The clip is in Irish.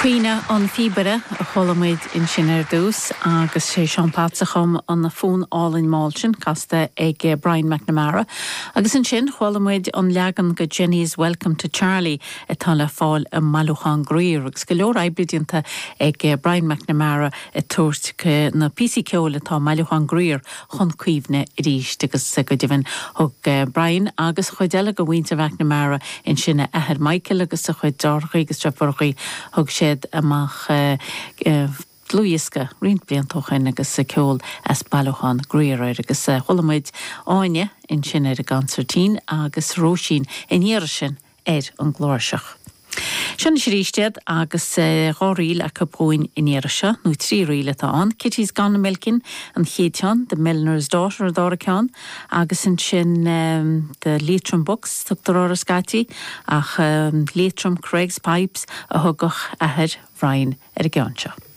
Caoineadh an Phíobaire a chuala muid ansin ar dtús agus sé Seán Potts a chum an fonn álainn mall sin, casta ag Brian McNamara. Agus ansin chuala muid an leagan de Jenny's Welcome to Charlie atá le fáil i mBailiúchán Grier agus go leor oibre déanta ag Brian McNamara ag tabhairt na píosaí ceoil atá i mBailiúchán Grier chun cuimhne arís agus go deimhin thug Brian agus cuid eile de mhuintir McNamara ansin, a athair Michael agus a chuid deartháireacha agus deirfiúracha, thug siad amach dlúthdhiosca roinnt blianta ó shin agus ceol as Bailiúchán Grier air agus chuala muid Áine ansin ar an gconsairtín agus Róisín ina dhiaidh sin ar an gcláirseach. Seo anois arís iad agus dhá ríl acu dhúinn an iarraidh seo, nó trí ríl atá ann, Kitty's Gone a-Milking an chéad cheann, The Milliner's Daughter an dara ceann, agus ansin The Leitrim Bucks, tugtar orthu scaití, ach Leitrim Creggs Pipes a thugadh athair Bhrian ar an gceann seo.